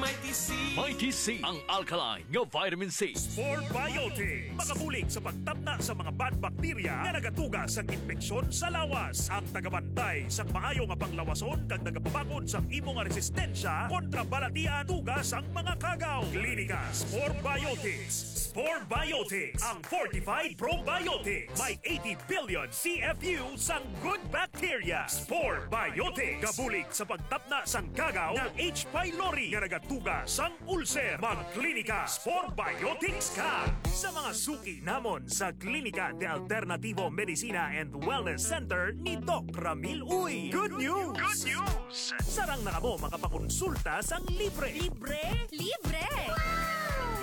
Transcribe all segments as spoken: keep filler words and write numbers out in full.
Mighty C. Mighty C, ang alkaline nga vitamin C. Spore Biotics, makabulig sa pagtapna sa mga bad bacteria nga nagatuga sang impeksyon sa lawas. Ang tagabantay sang maayo nga panglawason kag nagapabakod sang imo nga resistensya kontra balatian tuga sang mga kagaw. Klinika Spore Biotics. Spore Biotics, ang fortified probiotics. May eighty billion C F U sang good bacteria. Spore Biotics, gabulig sa pagtapna sang kagaw nga H. pylori nga nagatuga sang ulcer. Magklinika Spore Biotics ka sa mga suki namon sa Klinika de Alternativo Medicina and Wellness Center ni Doc Ramil Uy. Good news! Good news! Sarang na kamo makapakonsulta sang libre. Libre? Libre!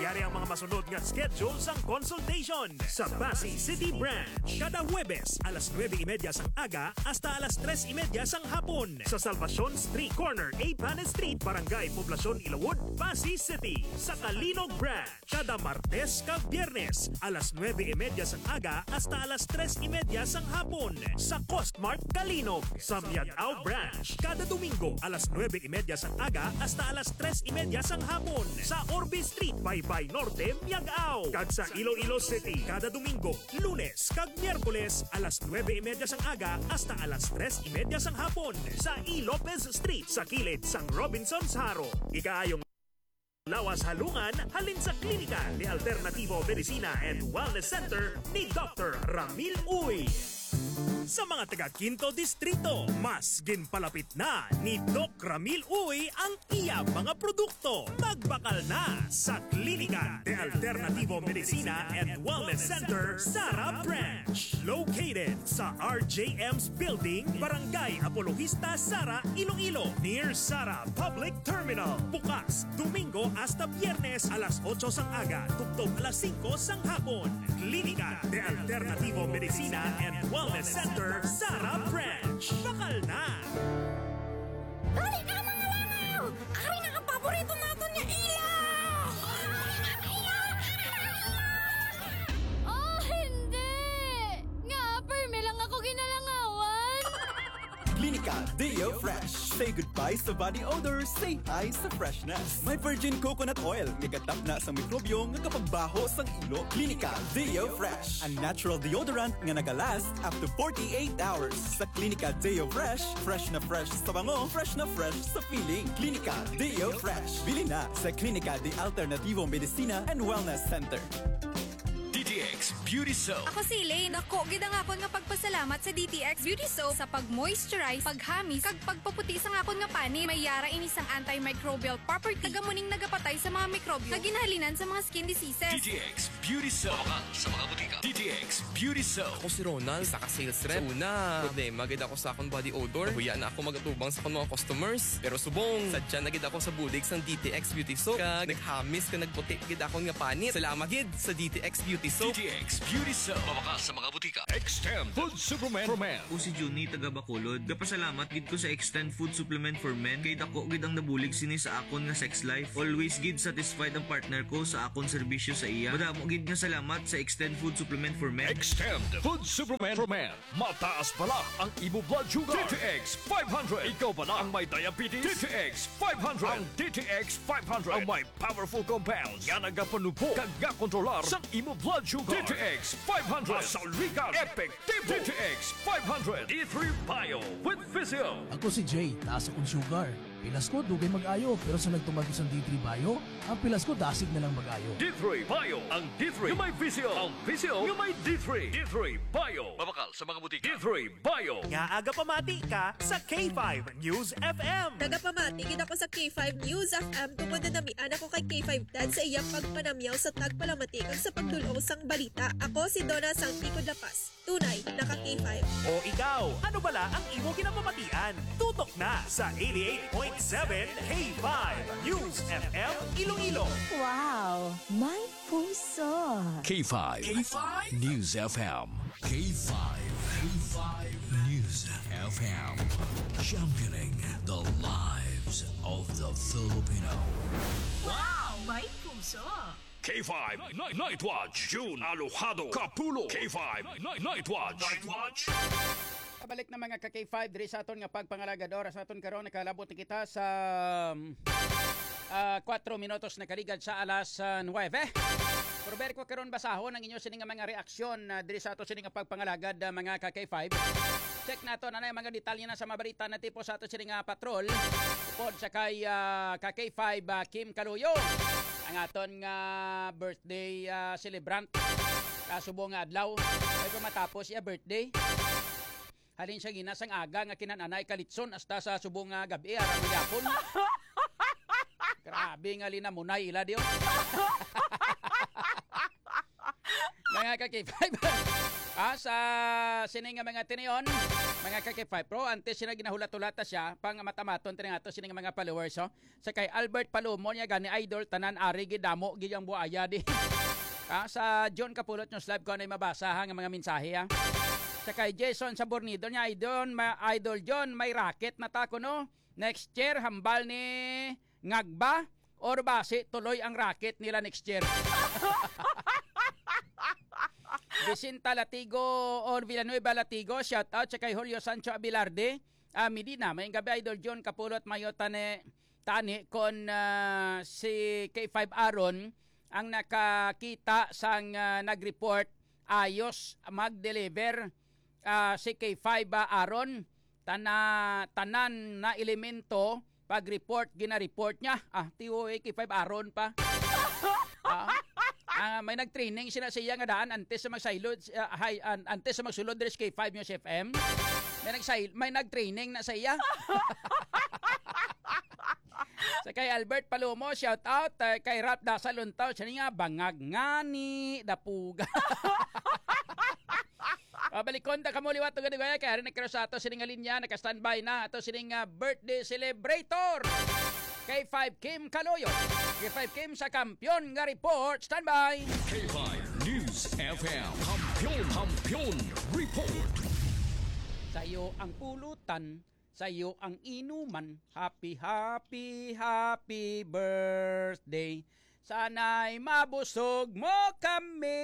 Yari ang mga masunod nga schedule sang consultation sa Passi City Branch. Kada Huwebes, alas nuebe y media sang aga hasta alas tres y media sang hapon. Sa Salvacion Street, corner A Panes Street, Barangay Poblacion, Ilawod, Passi City. Sa Calinog Branch, kada Martes kag Biyernes, alas nuebe y media sang aga hasta alas tres y media sang hapon. Sa Costmart Calinog, sa Miag-ao Branch, kada Domingo, alas nuebe y media sang aga hasta alas tres y media sang hapon. Sa Orbe Street, Baybay Norte, Miag-ao. Kag sa Iloilo City, kada Domingo, Lunes kag Miyerkules, alas nuebe y media sang aga hasta alas tres y media sang hapon, sa E. Lopez Street, sa kilid sang Robinsons Jaro. Ikaayong lawas halungan halin sa Klinika de Alternativo Medicina and Wellness Center ni Doctor Ramil Uy. Sa mga taga Quinto Distrito, mas ginpalapit na ni Doc Ramil Uy ang iya mga produkto. Magbakal na sa Klinika de Alternativo Medicina and Wellness Center, Sara Branch. Located sa R J M's Building, Barangay Apologista, Sara, Iloilo, near Sara Public Terminal. Bukas Domingo hasta Biyernes, alas otso sang aga tubtob alas singko sang hapon. Klinika de Alternativo Medicina and Wellness Center, Sara Branch. Bakal na! Dali na, mga langaw! Ari na ang paborito naton nga ilaw! Oh, hindi! Nga, permi lang ako ginalangawan! Klinika Deo Fresh. Say goodbye sa body odor, say hi sa freshness. May virgin coconut oil nga gatapna sa mikrobyo nga kapagbaho sang ilo. Klinika Deo Fresh, a natural deodorant nga nagalast up to forty-eight hours. Sa Klinika Deo Fresh, fresh na fresh sa bango, fresh na fresh sa feeling. Klinika Deo Fresh. Bili na sa Klinika de Alternativo Medicina and Wellness Center. D T X Beauty Soap. Ako si Elaine. Dako gid ang akon nga pagpasalamat sa D T X Beauty Soap sa pag-moisturize, paghamis, kag pagpaputi sang akon nga panit. May yara ini sang antimicrobial property, kag amo ning nagapatay sa mga mikrobyo nga ginhalinan sa mga skin diseases. D T X Beauty Soap. Mabakal sa mga butika. D T X Beauty Soap. Ako si Ronald, isa ka sales rep. Sa una, problema gid ako sa akon body odor. Nahuya na ako mag-atubang sa akon mga customers. Pero subong, sadya na gid ako sa bulig sang D T X Beauty Soap. Kag naghamis kag nagputi gid akon nga panit. Salamat gid sa D T X Beauty Soap. D T X Beauty Soap. Mabakal sa mga butika. Extend Food Supplement for Men. Ako si Junie, taga Bacolod. Gapasalamat gid ko sa Extend Food Supplement for Men kay dako gid ang nabulig sini sa akon nga sex life. Always gid satisfied ang partner ko sa akon serbisyo sa iya. Madamo gid nga salamat sa Extend Food Supplement for Men. Extend Food Supplement for Men. Mataas bala ang imo blood sugar. D T X five hundred. Ikaw bala ang may diabetes? D T X five hundred. Ang D T X five hundred ang may powerful compounds nga nagapanubo kag gakontrolar sang imo blood sugar. D T X five hundred. Masaligan, epektibo. D T X five hundred. D three Bio with Vizio. Ako si Jay, taas akong sugar. Pilas ko, dugay mag-ayo, pero sa nagtuman ko sang D three Bio, ang pilas ko dasig na lang mag-ayo. D three Bio, ang D three nga may Vizio, ang Vizio nga may D three. D three Bio. Mabakal sa mga butika. D three Bio. Ngaa gapamati ka sa K five News F M? Nagapamati gid ako sa K five News F M tungod nanamian ako kay K five Ted sa iyang pagpanamyaw sa tagpalamati kag sa pagdul-ong sang balita. Ako si Donna sang Tikod La Paz. Tunay, naka K five. O ikaw, ano bala ang imo ginapamatian? Tutok na sa eighty-eight point seven K five News F M Iloilo. Wow, may puso. K five K five News F M. K five, K five News F M. Championing the lives of the Filipino. Wow, may puso. K five Night, Night Watch, June Alojado Kapulo. K five Night, Night Watch. Night Watch. Kabalik na, mga ka K five, diri sa aton nga pagpangalagad. Oras naton karon, nakalabot na kita sa, um, Ah, kuwatro minutos na kaligad sa alas, ah, nuwebe. Pero balik ko karon basahon ang inyo sini nga mga reaksyon, ah, diri sa ato sini nga pagpangalagad, ah, mga ka K five. Check nato na na yung mga detalye na sa mga balita na tipo sa ato sini nga patrol. Upod sa kay, ah, ka K five, ah, Kim Kaluyo, ang aton nga birthday, ah, celebrant. Kasubo nga adlaw, ay pa matapos iya birthday. Halin siya gina sang aga nga kinananay kalitson hasta sa subong nga gabi, aram gyapon. Grabe nga linamunay ila diyo. Mga ka K five. Ah, sa sini nga mga tinion, mga ka K five, pero antes sila ginahulat-hulata siya, pang matamaton tini nga ato sini nga mga followers, oh. Sa kay Albert Palomo niya gani idol, tanan ari gid damo gid ang buaya di. Ah, sa John Kapulot News Live ko na mabasa ha, nga mga mensahe, ha. Sa kay Jason Sabornido niya, idol, ma, idol John, may racket na ta kuno. Next year, hambal ni Ngagba or basi tuloy ang racket nila next year. Jacinta Latigo or Villanueva Latigo, shout out sa kay Julio Sancho Abilarde. Ah, Medina, may gabi, Idol John Kapulot, mayo tani, tani kon, ah, si K five Aaron ang nakakita sang, ah, nag-report, ayos mag-deliver, ah, si K five, ah, Aaron. Tana-, tanan na elemento pag-report, gina-report niya. Ah, T O A K five Aaron pa. Ah, ah, may nag-training sila sa iya nga daan antes sa magsaylod, ah, hay, an-, antes sa magsulod diri sa K five News F M. May nagsay-, may nag-training na sa iya. Sa kay Albert Palomo, shout out, eh, kay Ralph Dasal Untaw, siya nga bangag ngani dapuga. Ah, balikon ta kamo liwat tugad gaya kay ari na sa ato sining nga linya, naka-standby na ato sining, ah, birthday celebrator. K five Kim Kaloyo. K five Kim sa Kampiyon nga Report, standby. K five News F M. Kampiyon, Kampiyon Report. Sayo ang pulutan, sayo ang inuman. Happy, happy, happy birthday. Sana'y mabusog mo kami.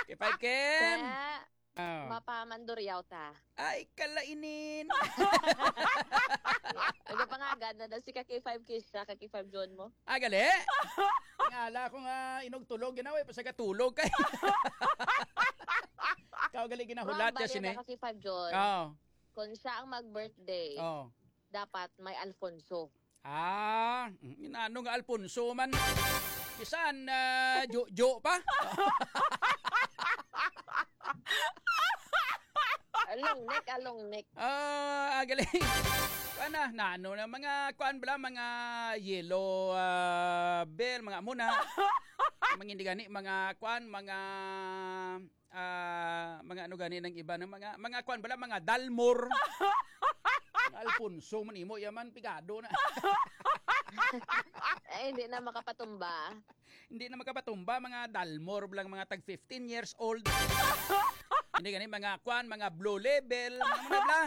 K five Kim. Sa Oh. Mapamanduryaw ta. Ay, kalainin. Nagapangagad na daw si ka K five Kisha, ka K five John mo. Ah, gali? Ngala ko nga inugtulog, ginawa, pa sa katulog kay. Ikaw gali ginahulat Wrong ka bali sini. Na ka K five John. Oh. Kung siya ang mag-birthday, Oh. dapat may Alfonso. Ah, mm, inano nga Alfonso man. Bisan, ah, Jojo pa. Along neck, along neck. Ah, agaling. Kana, nano na, mga kuan bala, mga yellow, ah, bell, mga amo na. Mga hindi gani, mga kuan, mga ah, mga ano gani ng iba ng mga, mga kwan bala, mga Dalmor. Mga Alfonso man imo, yaman, pigado na. Eh, hindi na makapatumba. Hindi na makapatumba, mga Dalmor lang, mga tag fifteen years old. Hindi gani, mga kwan, mga blue label, mga, mga bla.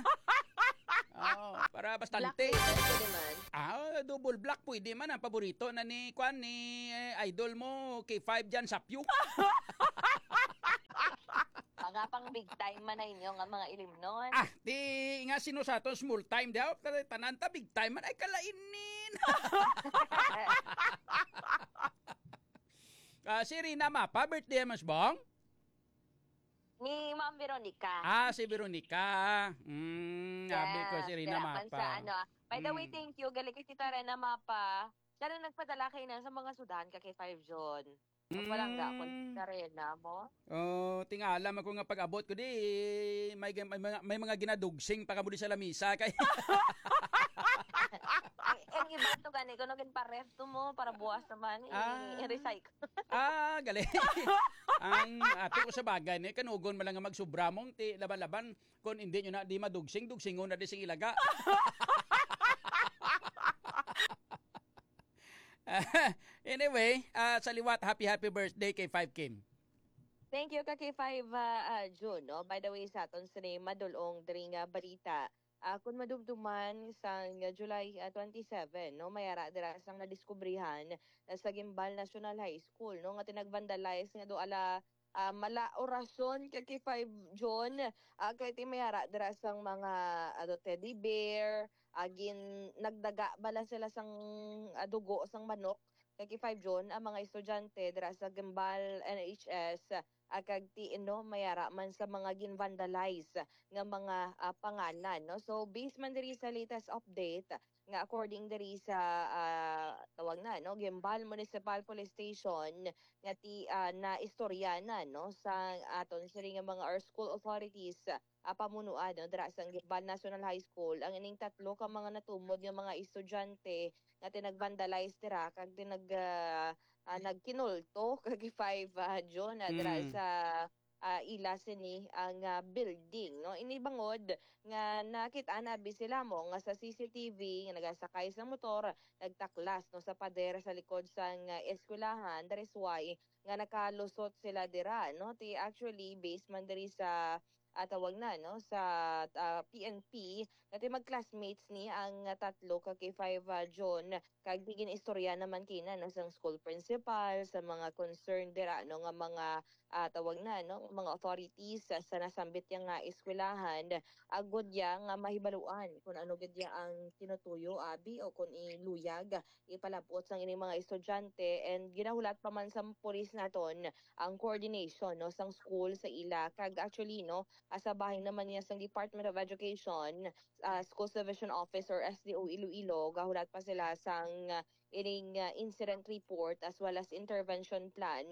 Oh, para bastante. Black label, pwede man. Ah, double black, pwede man. Ang paborito na ni, kwan, ni, eh, idol mo, K five dyan, Sapyo. Mga pang big time man na inyo nga mga ilimnon. Ah, di nga sino sa aton small time daw, tanan ta big time man ay kalainin. Ah, si Rina Mapa, birthday mas bong? Ni Ma'am Veronica. Ah, si Veronica. Mm, abi ko si Rina Mapa. Kaya man sa ano, ah. By the way, Mm. Thank you. Galing kay Tita Rena Mapa. Siya na nagpadala kay na sa mga sudan ka kay Five John. Palangga ko Mm. Tita Rena mo. Oh, tingala man ko nga pag-abot ko di may, may, may mga, may mga ginadugsing pa kamo di sa lamisa kay Ang, ang iba to gani, kuno ginparef to mo para buwas naman, i-, Ah. i-recycle. Ah, gali. Ang ato ko sa bagay ni kanugon man lang nga magsubra mong ti laban-laban, kung hindi nyo na di madugsing, dugsingon na di sing ilaga. Anyway, ah, sa liwat, happy, happy birthday kay Five Kim. Thank you, ka K five, ah, ah, June, no? By the way, sa aton sini madulong diri nga balita, ah, kung madumduman sang July, ah, twenty-seven, no, may ara dira sang nadiskubrihan, ah, sa Guimbal National High School, no, nga tinagvandalize nga do ala, ah, mala orasyon ka K five John, ah, kay ti may ara dira sang mga, ano, teddy bear, ah, gin-, nagdaga bala sila sang, ah, dugo sang manok, ka K five June, ang mga estudyante dira sa Guimbal N H S, ah, kag ti-, no, may ara man sa mga gin-vandalize nga mga, ah, pangalan, no? So, based man diri sa latest update, nga according diri sa, ah, tawag na, no, Guimbal Municipal Police Station, nga ti-, ah, naistorya na, no, sa aton sini nga mga, or school authorities, ah, pamunuan, no, dira sa Guimbal National High School, ang ining tatlo ka mga natumod nga mga estudyante nga tinag-vandalize dira kag tinag-, ah, ah, nagkinulto kag five, ah, June, ah, dira Mm. sa, ah, ila sini ang, ah, building, no? Ini bangod nga nakit-an abi sila mo nga sa C C T V nga nagasakay sa motor, nagtaklas, no, sa pader sa likod sang, ah, eskwelahan. That is why nga nakalusot sila dira, no? Ti actually, based man diri sa, ah, tawag na, no, sa, ah, P N P, nga ti mag-classmates ni ang, ah, tatlo ka K five, ah, June, kag gin-istorya naman kina, no, sang school principal, sa mga concerned dira, no, nga mga, ah, tawag na, no, mga authorities sa, sa nasambit ya nga eskwelahan, agod ya nga mahibaluan kung ano gid ya ang tinutuyo, abi, o kung iluyag ipalabot sang ining mga estudyante, and ginahulat pa man sa pulis naton ang coordination, no, sang school sa ila. Kag actually, no, ah, sa bahin naman niya sang Department of Education, ah, Schools Division Office or S D O Iloilo, gahulat pa sila sang, ah, ining, ah, incident report as well as intervention plan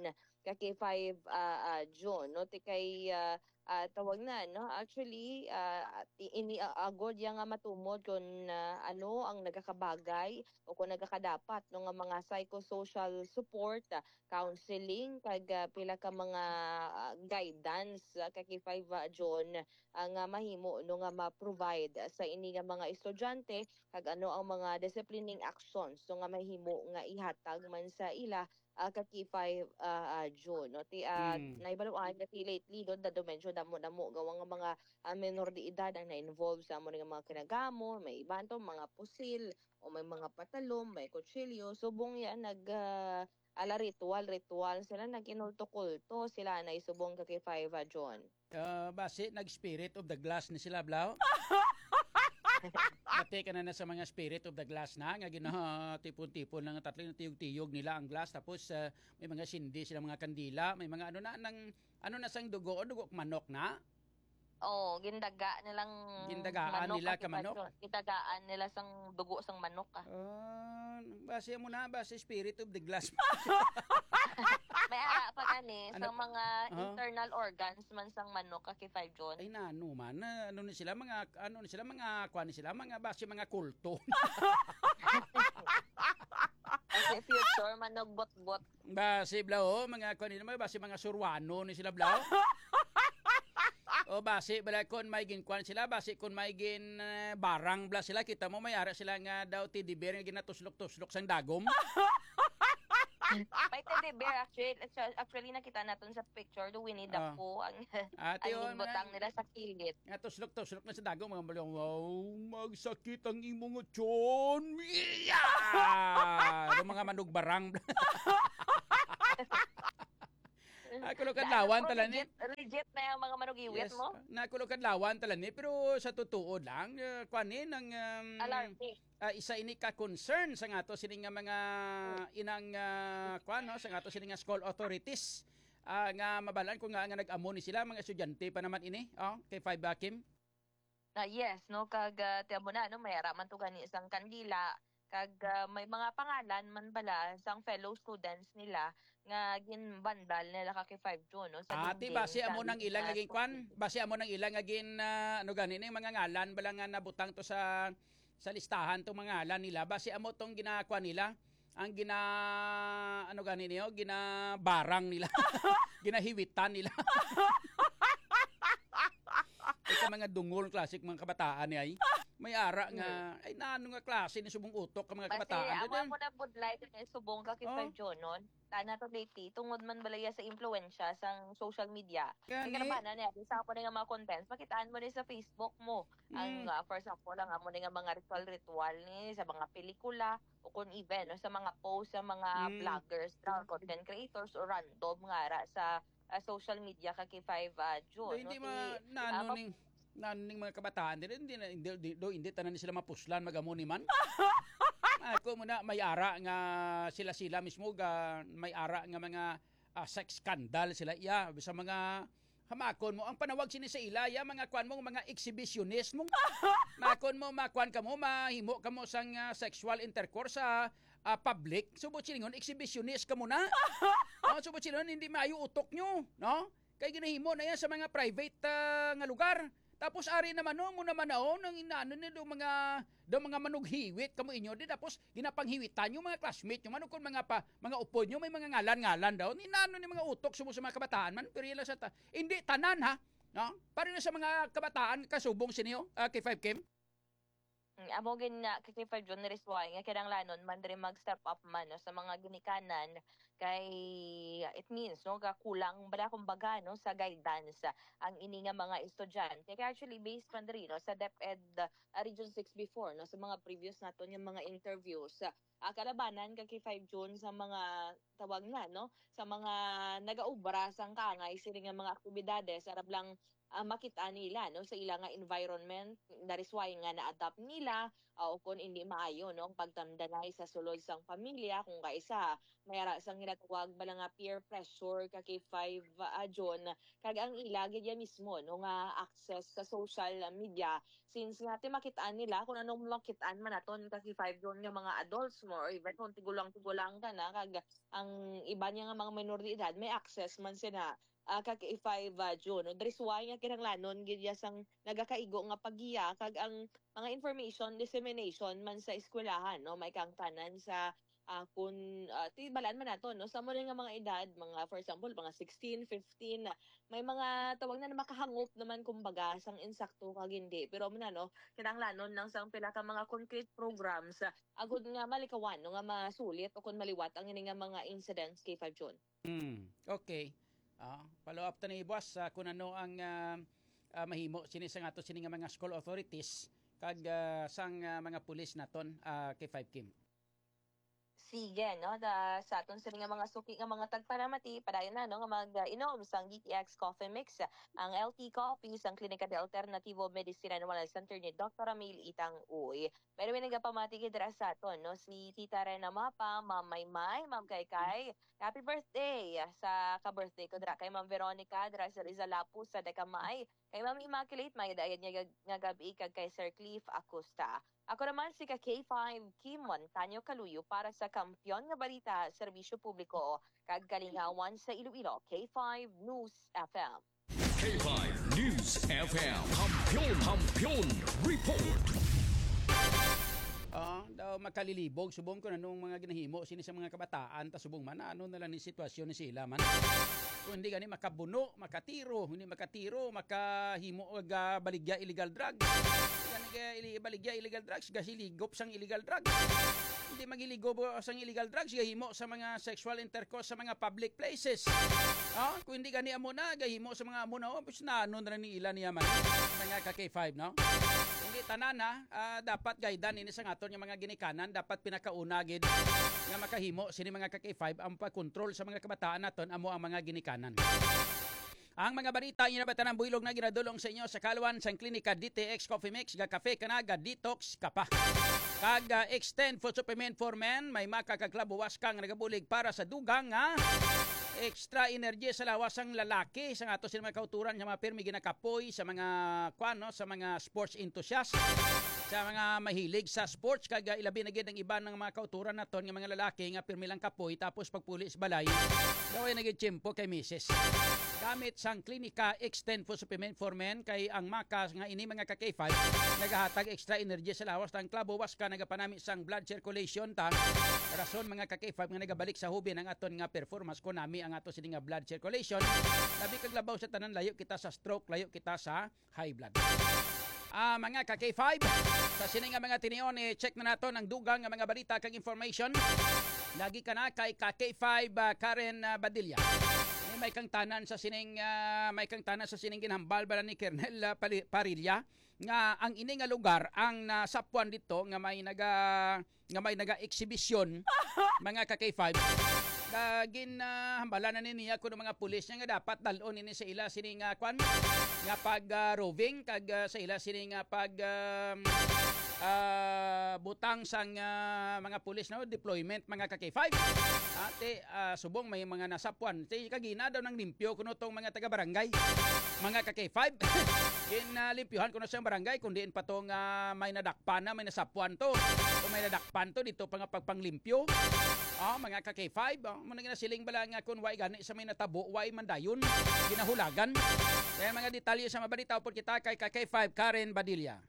ka K five, ah, ah, June, no? Ti kay, ah, ah, tawag na, no? Actually, ah, ti-, ini, ah, agod ya nga matumod kung, ah, ano ang nagakabagay o kung nagakadapat, no, nga mga psychosocial support, ah, counseling, kag, ah, pila ka mga, ah, guidance, ah, ka K five, ah, June, ah, nga mahimo, no, nga ma-provide sa ini nga mga estudyante, kag ano ang mga disciplining actions, no, nga mahimo nga ihatag man sa ila, ah, ka K five, ah, ah, June, no? Ti, ah, Mm. nahibaluan nga ti lately, no, daw medyo damo-damo gawa nga mga, ah, menor de edad ang na-involve sa amo nga mga kinagamo, may iban to, mga pusil, o may mga patalom, may kutsilyo. Subong yan, nag, ah, ala ritual, ritual sila, nag-inulto-kulto sila na isubong ka K five, ah, June. Ah, basi nag-spirit of the glass ni sila, Blau. Bati ka na, na sa mga spirit of the glass na, nga ginatipon-tipon lang, tatlo, tiyog-tiyog nila ang glass, tapos, ah, may mga sindi sila, mga kandila, may mga ano na, nang, ano na sang dugo, o dugo manok na? Oo, gindaga nilang Gindagaan manok nila at ka manok? Gindagaan nila sang dugo sang manok, ah. Ah, basi mo na, basi spirit of the glass. May ara pa gani sa Ano? mga Aha. internal organs man sang manok, ka K five June. Ay, nano man, na, ano ni sila, mga, ano ni sila, mga, kuwan ni sila, mga, basi mga kulto. Kasi future, manugbot-bot. Basi, Blau, mga, kuwan ni naman, basi mga Suruano ni sila, Blau. O basi, bala, kung may ginkuan sila, basi kung may gin, eh, barang, bla, sila, kita mo, may ara sila nga daw teddy bear nga ginatuslok-tuslok sang dagom. May teddy bear, actually, actually, nakita naton sa picture, do Winnie the Ah. Pooh, ang, Ate, ang oh, ginbutang mga nila sa kilid. Nga tuslok-tuslok na sa dagom, mga baliw, "Wow, magsakit ang imong tiyan." Yeah! Yung mga manugbarang. Ako lang kadlawan Ano, tala ni. Legit, legit na yung mga manugiwit Yes. mo? Na ako lang kadlawan tala ni, pero sa totoo lang, eh, kwan ni, nang, um, Alarming. ah, isa ini ka concern sa nga to, sini nga mga inang, ah, kwan, no, sa nga to, sini nga school authorities, ah, nga mabalaan ko nga, nga nag-amo ni sila, mga estudyante pa naman ini, oh, kay five, ah, Kim? Na yes, no, kag, ah, tiyan mo na, no, may ara man to gani sang kandila, kag, ah, may mga pangalan man bala sang fellow students nila nga ginbandal nila ka kay five June, no, sa Ati, dingding basi sa amo nang ila nga ginkuan, basi amo nang ila nga gin, ah, ano gani, ning mga ngalan bala nga nabutang to sa, sa listahan tong mga ngalan nila, basi amo tong ginakuan nila, ang gina, ano gani niyo, ginabarang nila, ginahiwitan nila. Ika mga dungol, classic mga kabataan ni ay. May ara nga, Mm. ay, nano nga klase ni subong utok ka mga Basi, kabataan. awa Dito, mo na budlay kay subong ka kay Oh. Sir John, no? Tana to, Liti, tungod man balaya sa impluwensya sang social media. Kay Gani. karabanan niya, sa amo na nga mga contents, makitaan mo ni sa Facebook mo. Ang, Mm. ah, for example, ang amo na nga mga ritual-ritual ni sa mga pelikula, o kung even, no, sa mga post sa mga Mm. vloggers, na content creators, o random nga ra sa, ah, social media ka kay five, ah, June, Do, hindi no? Ti, ma-, naano ah, ning, Na ning mga kabataan diri, hindi na, hindi, hindi, do, hindi tanan ni sila mapuslan, magamo ni man. Ako mo na, may ara nga sila-sila mismo ga, may ara nga mga, ah, sex scandal sila iya sa mga hamakon mo. Ang panawag sini sa ila, ya, mga kwan mo, mga exhibitionist mo. Makon mo, makwan ka mo, mahimo ka mo sang, ah, sexual intercourse sa, ah, public. Subot silingon, exhibitionist ka mo na. Oh, subot silingon, hindi maayo utok nyo, no? Kay ginahimo na yan sa mga private, ah, nga lugar. Tapos ari naman, no, mo naman na, oh, nang inaano ni do mga, do mga manughiwit kamo inyo di, tapos ginapanghiwitan yung mga classmate nyo man, o kung mga pa, mga upod nyo, may mga ngalan-ngalan daw. Inaano ni mga utok sumo sa mga kabataan man, pero yan lang sa ta-, hindi tanan, ha? No? Para na sa mga kabataan, kasubong sa inyo, ah, K five Kim? Mm, amo gid nga, K five June, reason nga kinahanglanon man diri mag-step up man, no, sa mga ginikanan, kay it means, no, nga kulang bala, kumbaga, no, sa guidance ang ini nga mga estudyante. Kaya actually, based man diri, no, sa DepEd, ah, Region six before, no, sa mga previous naton nga mga interviews, ah, kalabanan ka K five June sa mga tawag na, no, sa mga nagaobra sang kaangay sini nga mga aktibidades, arab lang, ah, makita nila, no, sa ila nga environment. That is why nga na-adapt nila, ah, o kung hindi maayo, no, ang pagtamdanay sa sulod sang pamilya, kung kaisa, may ara sang ginatawag bala nga peer pressure ka K five, ah, June, kag ang ila gid ya mismo, no, nga access sa social media, since nga ti makit-an nila kung anong makit-an man naton ka K five June nga mga adults mo, or even kung tigulang-tigulang ka na, kag ang iba niya nga mga minor de edad may access man sila, ah, ka K five, ah, June. No? That is why nga kinahanglanon gid ya sang nagakaigo nga paggiya, kag ang mga information dissemination man sa eskwelahan, no, may kangtanan sa, ah, kun, ah, ti balaan man nato, no, sa mo nga mga edad, mga, for example, mga sixteen, fifteen, may mga tawag na, na makahangop naman, kumbaga, sang insakto kag hindi. Pero mo na, no, kinahanglanon lang sang pila ka mga concrete programs, ah, agud nga malikawan, no, nga masulit o kung maliwat ang ini nga mga incidents, K five June. Mm, okay. Ah, follow up ta ni boss sa kung ano ang, ah, ah, mahimo sini sa ato sini nga mga school authorities kag, ah, sang, ah, mga pulis naton, ah, K five Kim. Sige, no? Da, sa aton sini nga mga suki nga mga tagpalamati, padayon na, no, nga mag-inom sang D T X Coffee Mix, ang L T Coffee, sang Klinika de Alternativo Medicina and Wellness Center ni Doktor Ramil Itang Uy. By the way, nagapamati gid dira sa aton, no, si Tita Rena Mapa, Ma'am Maymay, Ma'am Kaykay. Happy birthday sa ka-birthday ko dira kay Ma'am Veronica, dira sa Rizalapu, sa Decamay. Kay Ma'am Immaculate, may dayon nga, nga gabi, kag kay Sir Cliff Acosta. Ako naman si ka K five Kim Montaño Kaluyo para sa Kampiyon nga Balita, Serbisyo Publiko, kag Kalingawan sa Iloilo, K five News F M. K five News F M. Kampiyon, Kampiyon Report. Ah, daw makalilibog subong kung anong mga ginahimo sini sa mga kabataan, ta subong man ano na lang ni sitwasyon ni sila man. Kung hindi gani makabuno, makatiro, hindi makatiro, makahimo og, ah, baligya illegal drugs. Gani kaya ili-, baligya illegal drugs, gasiligop sang illegal drugs. Hindi magiligo sang illegal drugs, gahimo sa mga sexual intercourse sa mga public places. Ah, kung hindi gani amo na, gahimo sa mga amo na, oh, pus na ano na lang ni ila niya man. Mga ka K five, no? Hindi tanan, ha? Ah, dapat guidean ini sa aton nga mga ginikanan, dapat pinakauna gid nga makahimo sini mga ka K five ang pagkontrol sa mga kabataan naton amo ang mga ginikanan. Ang mga balita inyo na ba tanan builog na ginadulong sa inyo sa kalwan sang Klinika D T X Coffee Mix, ga kafe ka na, ga detox ka pa. Kag, ah, Extend Food Supplement for Men, may maka kag klabo waska nga nagabulig para sa dugang nga extra energy sa lawas sang lalaki. Sa ato sila mga kauturan nga mga pirmi ginakapoy sa mga kwan, no, sa mga sports enthusiast, sa mga mahilig sa sports, kag, ah, ilabi na gid ang iban nga mga kauturan naton nga mga lalaki nga pirmi lang kapoy, tapos pagpuli sa balay, daw ay nagitiyempo kay misis. Gamit sang Klinika Extend Food Supplement for Men, kay ang maka nga ini mga ka K five nagahatag extra energy sa lawas, ang klabo waska nagapanami sang blood circulation ta. Rason mga ka K five nga nagabalik sa hubin ang aton nga performance, kunami ang ato sini nga blood circulation. Labi kag labaw sa tanan, layo kita sa stroke, layo kita sa high blood. Ah, mga ka K five, sa sini nga mga tinion, i-check na naton ang dugang nga mga balita kag information. Lagi ka na kay ka K five, ah, Karen, ah, Badilla. Ini may kangtanan sa sining, ah, may kangtanan sa sining ginhambal bala ni Kernel, ah, Pali-, Parilla nga ang ini nga lugar ang nasapuan dito nga may naga-, nga may naga-eksibisyon, mga ka K five. Ka gin, ah, hambala na ni niya kuno mga pulis niya nga dapat dal-on ini sa ila sini nga kwan, nga pag, ah, roving kag, ah, sa ila sini nga pag, um, ah, butang sang, ah, mga pulis, no, deployment, mga ka K five. Ate, ah, subong may mga nasapuan. Ti kagina daw nang limpyo kuno tong mga taga-barangay, mga ka K five. Gin, ah, limpyuhan kuno sang barangay, kung diin pa to nga may nadakpan na, may nasapuan to. Kung may nadakpan to, dito pa nga pagpanglimpyo. Ah, mga ka K five, ah, muna nga nasiling bala nga kung way gani sa may natabo, way man dayon, ginahulagan. Kaya mga detalye sa mabalita, upod kita kay ka K five Karen Badilla.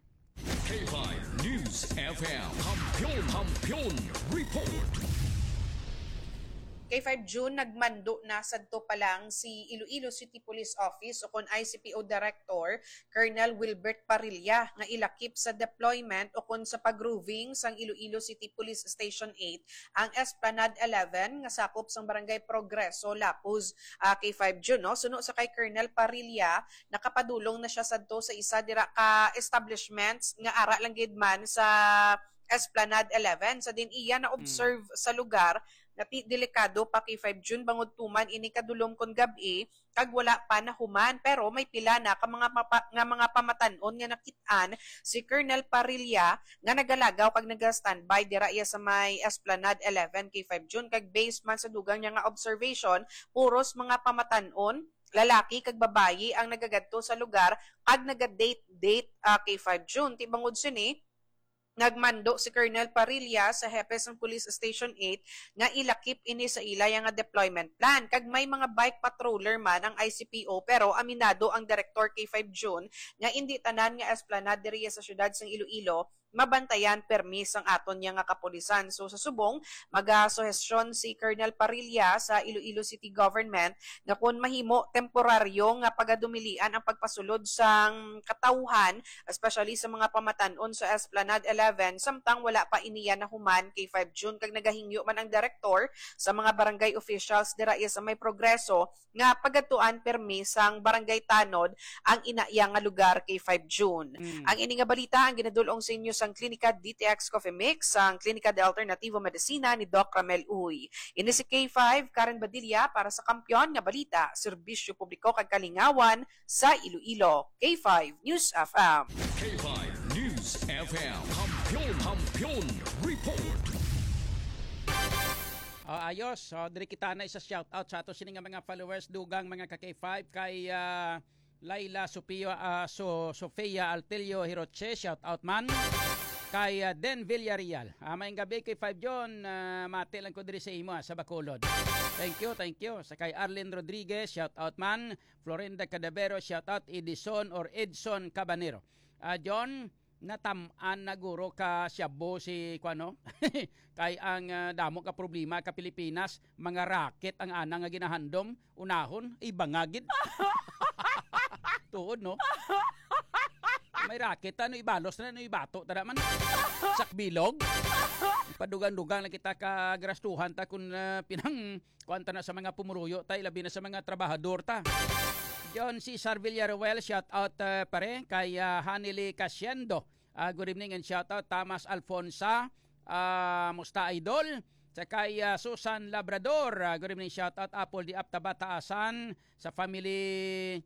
K five News F M. Kampiyon, Kampiyon Report. K five June, nagmando na sadto pa lang si Iloilo City Police Office o kon I C P O Director Colonel Wilbert Parrilla nga ilakip sa deployment o kon sa pag-roving sang Iloilo City Police Station eight ang Esplanade eleven nga sakop sang Barangay Progreso, Lapuz, ah, K five June, no? Suno sa kay Colonel Parrilla, nakapadulong na siya sadto sa isa dira ka establishments nga ara lang gid man sa Esplanade eleven. Sa din iya na-observe sa lugar nga ti-, delikado pa kay five June bangod tuman ini kadulom kon gab-i kag wala pa nahuman, pero may pila na ka mga mapa-, nga mga pamatan-on nga nakit-an si Colonel Parrilla nga nagalagaw kag naga-standby dira iya sa may Esplanade eleven kay five June, kag based man sa dugang niya nga observation, puros mga pamatan-on, lalaki kag babayi ang nagagadto sa lugar kag naga-date-date, ah, kay five June. Ti bangod sini, nagmando si Colonel Parrilla sa hepe sang Police Station eight nga ilakip ini sa ila nga deployment plan. Kag may mga bike patroller man ang I C P O, pero aminado ang Director kay five June nga indi tanan nga esplanade diri sa siyudad sang Iloilo mabantayan permi sang aton niya nga kapulisan. So, sa subong, magasuhestyon si Colonel Parrilla sa Iloilo City Government nga kun mahimo temporaryo nga pagadumilian ang pagpasulod sang katawhan, especially sa mga pamatan-on sa Esplanade eleven, samtang wala pa iniya nahuman kay five June, kag nagahingyo man ang direktor sa mga barangay officials dira iya sa may Progreso nga pagadtuan permi sang Barangay Tanod ang ina iya nga lugar kay five June. Mm. Ang ini nga balita ang ginadul-ong sa inyo sang Klinika D T X Coffee Mix, sang Klinika de Alternativo Medicina ni Doc Ramel Uy. Ini si K five, Karen Badilla para sa Kampiyon nga Balita, Serbisyo Publiko kag Kalingawan sa Iloilo. K five News F M. K five News F M. Kampiyon, Kampiyon Report. Ah, ayos. So, diri kita na isa shout out sa ato sini nga mga followers, dugang mga ka K five, kay, ah, Laila Sofia, ah, So-, Sofia Altelio Hiroche, shout out man. Kay, ah, Den Villarreal. Ah, maayong gabi kay five John, ah, mati lang ko diri sa imo, ah, sa Bacolod. Thank you, thank you. Sa kay Arlene Rodriguez, shout out man. Florinda Cadavero, shout out. Edison or Edson Cabanero. Ah, John, natam-an na guro ka Shabu si, kuwan, no? Kay ang, ah, damo ka problema ka Pilipinas, mga racket ang ana nga ginahandom, unahon, iba nga gid. Tuod, no? May racket, ano, ibalos na, ano, ibato, tara man. Sakbilog. Padugang-dugang na kita ka garastuhan ta kung, ah, pinang kuwan ta na sa mga pumuruyo ta, labi na sa mga trabahador ta. John Cesar Villaruel, shout out, ah, pare, kay, ah, Hanili Casiendo. Ah, good evening and shout out Thomas Alfonsa. Ah, musta, idol? Sa kay, ah, Susan Labrador, ah, good evening, shout out Apple di Aptaba Taasan sa family